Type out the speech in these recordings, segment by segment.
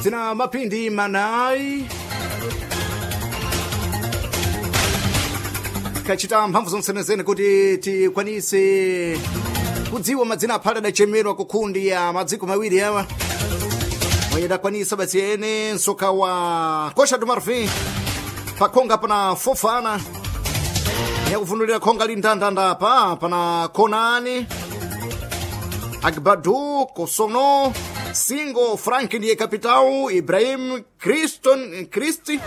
Zina mapindi manai kachita mphamvu zonsenezene kuti tikwanise kudziwa madzina aphale adachemerwa kukhundi ya madziko mawiri awa mwenye dakwanisa basi ene msoka wa Costa do Marfim pakhonga pana Fofana yakuvundulira khonga lindandanda pa pana Konani Agbadu Kosono Singo Frank ndiye kapitão Ibrahim Criston Cristi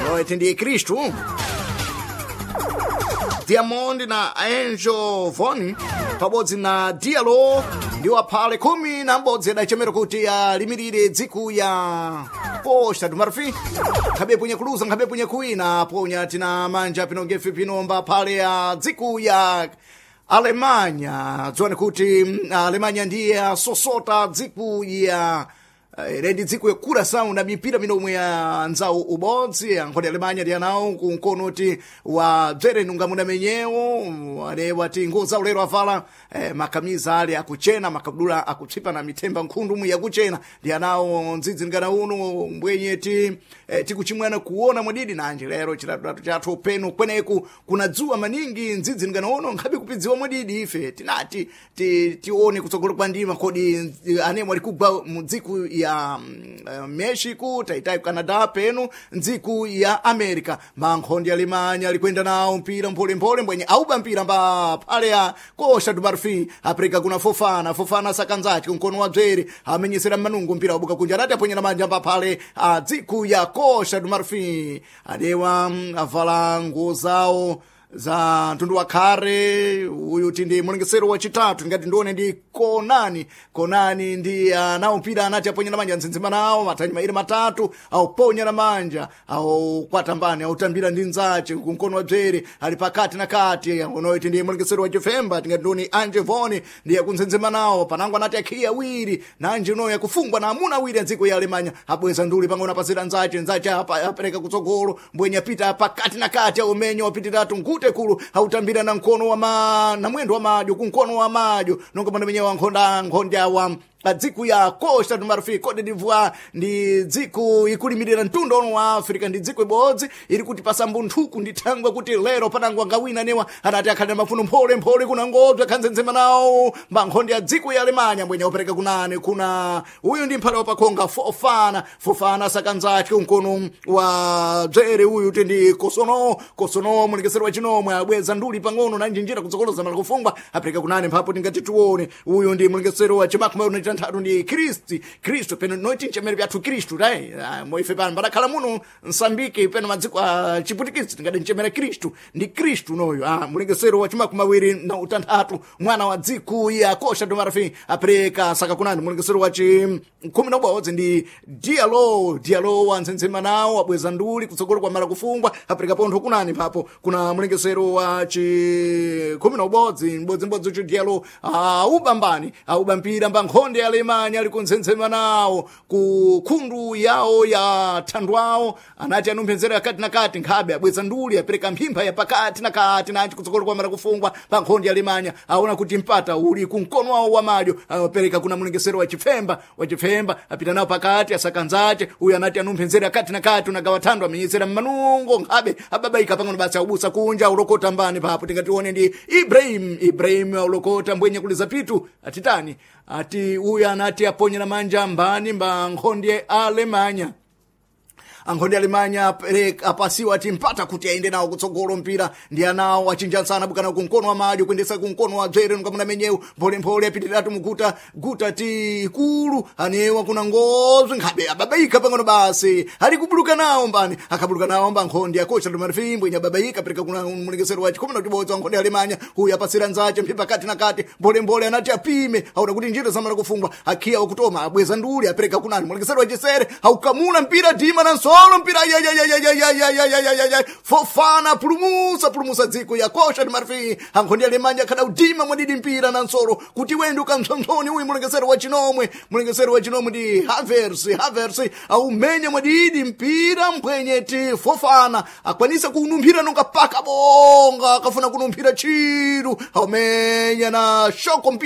noete ndiye Cristo Diamond na Angel Von pabodzi na Diallo ndiwo aphale 11 adachemera kuti alimirire dziku ya Costa do Marfim nkhabe punya kuluza nkhabe punya kuwina ponya tina manja pino ngefe pinomba aphale ya dziku ya Alemanya dziwani kuti Alemanya ndiye asosota dziku ya rendi dziko ya Curaçao na mipira minomwe ya nzawu ubodzi ankhoti Alemanya ndi anawo kunkono ti wa bzere nunga muna menyewo alewa ti nguo zawo lero avala makamiza ali akuchena makabudula akutsipa na mithemba nkhundu mu yakuchena ndi anawo ndzidzi ngana uno mbwenye ti tikuchimwana kuona mwadidi nanje lero chilatulatu chathu penu kweneku kuna dzuwa maningi ndzidzi ngana uno nkhabe kupidziwa mwadidi ife tinati tione kutsogolo kwa ndima kodi anemwe ali kugwa mu dziku ya Mexico taitai Canada penu ndziku ya America mankhondi Alemanya alikwenda nawo mpira mpholemphole mbwenye auba mpira mba phale ya Costa do Marfim apreka kuna Fofana Fofana sakanzache mkono wa dzere amenyesera manungo mpira wabuka kunja anati aponyera manja mba phale a dziku ya Costa do Marfim adewa avala nguo zawo za mtundu wa khare uyu ti ndi mulengesero wachitatu ngati ndione ndi konani konani ndi anawo mpira anati aponyera manja nzinzima nawo mathanyi mairi matatu auponya na manja aukwatambani autambira ndi nzache kumkono wa bzere ali pakati na kati unoiti ndi mulengesero wa chifemba tingati ndione anje voni ndiye kunzenzema nawo panango anati akhiya awiri nanje unoyo akufungwa na amuna awiri adziko ya Alemanya abweza nduli pang'ono apasira nzache nzache apereka kutsogolo mbwenye apita pakati na kati aumenyo wapitiratu nkute kulu autambira na mkono wa na mwendo wa madyo kumkono wa madyo nonga mwana menyewa nkhonda nkhondya wa dziku ya Costa do Marfim Cote d'Ivoire ndi dziku ikulimirira mtundu ono wa Africa ndi dziku ibodzi iri kuti pasambunthuku ndi thangwe kuti lero panango angawina newa anati akhale na mafuno mphole mphole kuna ngodzwe khanzenzema nawo mbankhonde ya dziku ya Alemanya mbwenya upereka kunani kuna uyu ndi mphale wapakhonga Fofana Fofana sakanzache mkono wa dzere uyu ti ndi Kosono Kosono mulekeseri wa chinomwe abweza nduli pang'ono na njinjira kutsokoloza mala kufungwa apereka kunani mphapo tingati tione uyu ndi mulekeseri wa chimakumi na ndi Kristi Kristo peno noiti nchemere pyathu Kristu tai moife pano padakhala muno Msambiki peno madziko a Chiputikisi tingati nchemere Kristu ndi Kristu noyo mulengesero wa chimakumi awiri na utanthatu mwana wa dziku ya Costa do Marfim apereka saka kunani mulengesero wa chi 11 ndi Diallo Diallo wanzenzema nawo abweza nduli kutsogolo kwa mala kufungwa apereka pontho kunani papo kuna mulengesero wa chi 11 mbodzimbodzi chi Diallo aubambani aubampira mbankhonde ya Alemanya ali kunzenzema nawo ku khundu yawo ya thandwawo anati anumphenzera kati na kati nkhabe abweza nduli apereka mphimpha ya pakati na kati nanji kutsogolo kwa mara kufungwa pa nkhondi ya Alemanya aona kuti mpata uli kumkono wawo wa madyo apereka kuna mulengesero wa chifemba wa chifemba apita nawo pakati asakanzache uyu anati anumphenzera kati na kati unagawa thando amenyesera mmanungo nkhabe ababaika pang'ono basi aubusa kunja ulokota mbani papo tingatione ndi Ibrahim Ibrahim aulokota mbwenye kuliza pitu atitani ati uyu anati aponyera manja mbani mba nkhonde Alemanya ankhonde Alemanya apasiwa ati mpata kuti aende nawo kutsogolo mpira ndi anawo achinjansana bukana kumkono wa madyo kuendesa kumkono wa dzere ngamuna menyewu mpholemphole apitiratu muguta guta ti ikulu anewa kuna ngozwe nkhabe ababaika pang'ono basi ali kubuluka nawo mbani akabuluka nawo mba nkhonde ya Costa do Marfim mbwenya ababaika apereka kuna mulengesero wa chikhumi na chibodzi wa nkhonde Alemanya huyu apasira nzache mphipa kati na kati mpholemphole anati apime aona kuti njira zamala kufungwa akhiya wakutoma abweza nduli apereka kunani mulengesero wa chisere aukamula mpira dima na nsolo mpira ya Fofana pulumusa pulumusa dziko ya Costa do Marfim ankhonde Alemanya kada udima mwadidi mpira na nsolo kuti wende ukamtsomtsoni uyu mulengesero wa chinomwe mulengesero wa chinomwe ndi Havertz Havertz aumenye mwadidi mpira mpwenye ti Fofana akwanisa kunumphira nonga paka bonga akafuna kunumphira chiru aumenya na shoko mpira.